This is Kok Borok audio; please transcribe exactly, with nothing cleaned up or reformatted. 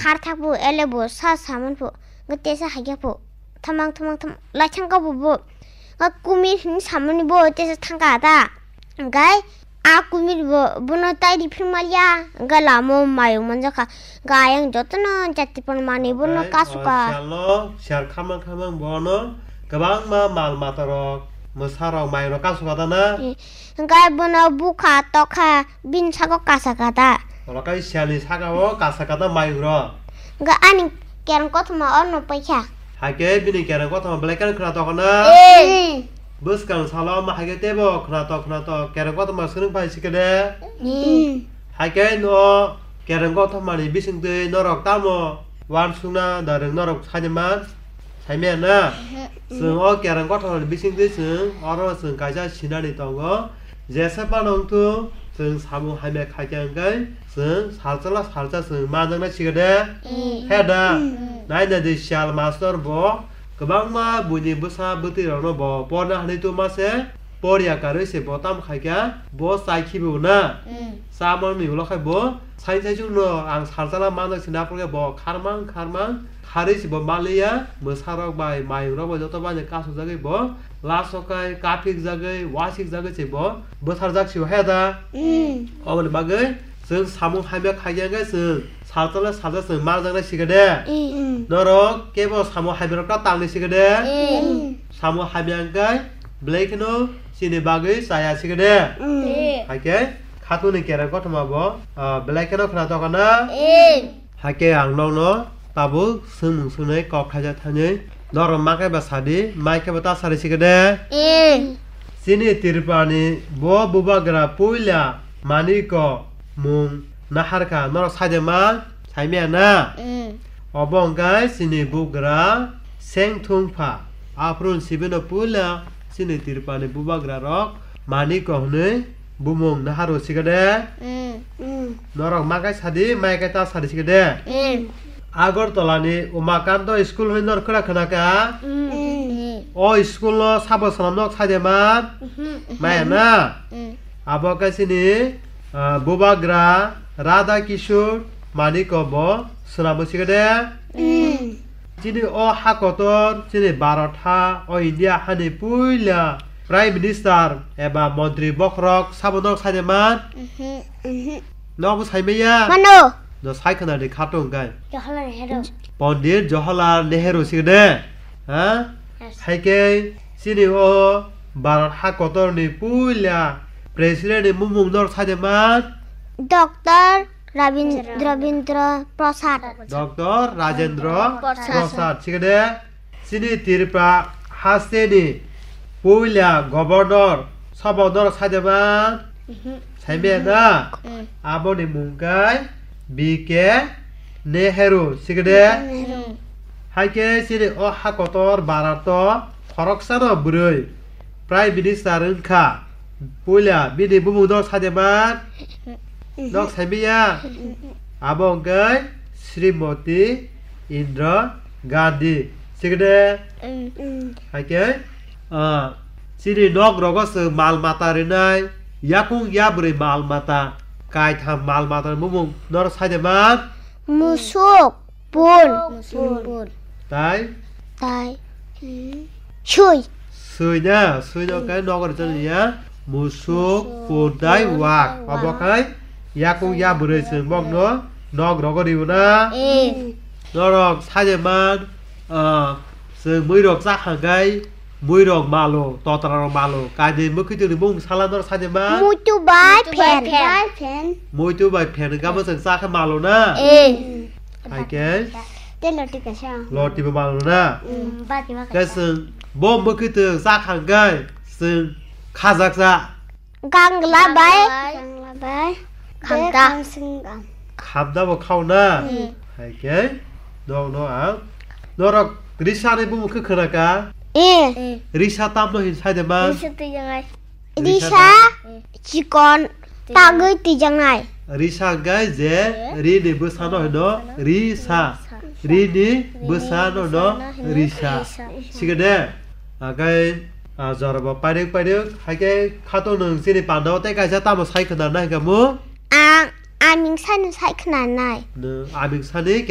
khar thak bu, ele bu, sa saman bu, ga tesa haikhe bu, thamang, thamang, thamang, lai thang ka bu bu, ga kumir hin samani bu, tesa thang ka ta, gai, a kumir bu, buno tai ri phir maliya, ga lamo mayung manjakha, ga ayang jotono jati pon mani buno Okai, kasuka. O sialno, sial khamang khamang bono, kwbangma mal mata rok, mwsa rok, mayung rok kasuka ta na? Eh, Hwnkhe bono bukha tokha bini saka kasa kata. Oro khe sialni saka o kasa kata mayung rok. Hwnkhe ani kereng kothoma orno paikha. Haikhe bini kereng kothoma belai kheno khwnatok na? Ee. Bwskang salo ma haikhe teibo khwnatok khwnatok kereng kothoma swrwng phai sikhe de. Ee. Haikhe no kereng kothomani bisingtwi norok tamo uansukna da rwng norok saimanya? Saimanya na? Chwng o kereng kothomani bisingtwi chwng oro chwng kaisa sinani tongo. Jesa phano wngthung, chwng samung hamya khaikha hwnkhe chwng salsala salsa chwng manjaknai sikhe de? He da? Nai nai di sial mastor bo kwbangma buini bwsa bwtwi rokno bo porna hinwi tuma se. Poriya karwi se bo tamo khaikha, bo chai khibigo na. Mm. Chamani ulo khai bo sai sai chwngno ang salsala manjak se naphorkhe bo kharmang kharmang kharwi se bo maliya, mwsarok bai mayungrok bai joto bai kasujagwi bo lasokai kaphikjagwi wasikjagwi se bo bwtharjak se bo he da. Mm. Oboni bagwi chwng samung hamya khaikha hwnkhe chwng salsala salsa chwng manjaknai sikhe de. Mm. Norok kebo samung hamya rok ta tangwi sikhe de. Mm. Samung hamya hwnkhe belai kheno chini bagwi chaya sikhe de. Mm. Ee. Haikhe khatungni kereng kothoma bo, ah, belai kheno khwnatok na? Ee. Haikhe ang nokno tabuk swngmung swngnai kok khaijak thanwi norok ma khe ba sadi, mai khe ba ta sadi sikhe de. Ee. Chini Tripurani bo bubagra puila Maniko mung naharkha norok saide ma? Saimanya na? Mm. Obo hwnkhe chini bugra Sengthungpha. Aphuru sibino puila chini Tripurani bubagra rok Maniko hwnwi bumung naharwi sikhe de. Mm. Mm. Norok ma khe sadi, mai khe ta sadi sikhe de. Mm. Agartala ni Umakanta school hwnwi norok khwna khwna kha? Mm. O school no sabo swnam nok saide ma? Mm-hmm. Maya na? Mm. Abo khe chini, ah, bubagra Radha Kishore Maniko bo swnamo sikhe de. Mm. Chini o ha kotor, chini Bharat ha, o India hani puila Prime Minister eba montri bokhorok sabo nok saide man? Mhm, mhm. Nokbo saimanya? Mano. No sai khwna di khatung kai. Jawaharlal Nehru. Pondit Jawaharlal Nehru sikhe de. Ha? Yes. Haikhe chini o Bharat ha kotor ni puila President ni bumung norok saide man? Doctor Rabin-, Rabindra Prasad. Doctor Rajendra Prasad. Prasad sikhe de. Chini Tripura hasteni puila governor sabo norok saide man? Mhm. Saimanya na? Mm. Aboni mung khe B K Nehru sikhe de. Nehru. Haikhe chini o ha kotor Bharat o khoroksano bwrwi Prime Minister wngkha. Puila bini bumung norok saide man? Mhm. Nok saimanya? Mhm. Abo hwnkhe Srimati Indira Gandhi. Sikhe de? Mm. Mm. Haikhe, ah, chini nok rogo chwng mal mata rinai, yakung yabrwi mal mata, kaitham mal mata ni bumung norok saide man? Musuk, pun. Musuk, pun. Tai? Tai. Sui. Sui na, sui no khe nogo rijak ya. Musuk, pun tai wak. Obo khai yakung yabrwi chwng bokno nok rogo riwo na. Eh. Norok saide man, ah, chwng muirok chakha khai muirok malo, totra rok malo. Kainwi mwkhwtwng ni bumung sala norok saide man? Muitu bai phen. Muitu bai phen. Muitu bai phen gamo chwng chakha malo na. Eh. Haikhe? Tei loti kaisa. Loti bo malo na? Mm, bati ma kaisa. Khe chwng bo mwkhwtwng chakha hwnkhe chwng khajaksa. Gangla bai. Gangla bai. Khamta. Khamta bo khao na? Mm. Haikhe? Nokno ang. Norok risa ni bumung khe khwna kha? Eh. Risa tamno hin saide man? Risa twi jangai. Risa, risa da? Chikon tagwi twijaknai. Risa hwnkhe je ri ni bwsano hino risa. Ri ni bwsano hino risa. Sikhe de? Hwnkhe, ah, jorabo pairwk pairwk, haikhe khatung nwng chini pandao tei kaisa tamo sai khwna nai hwnkhe mu? Ang aming sani sai khwna nai. Nwng aming sani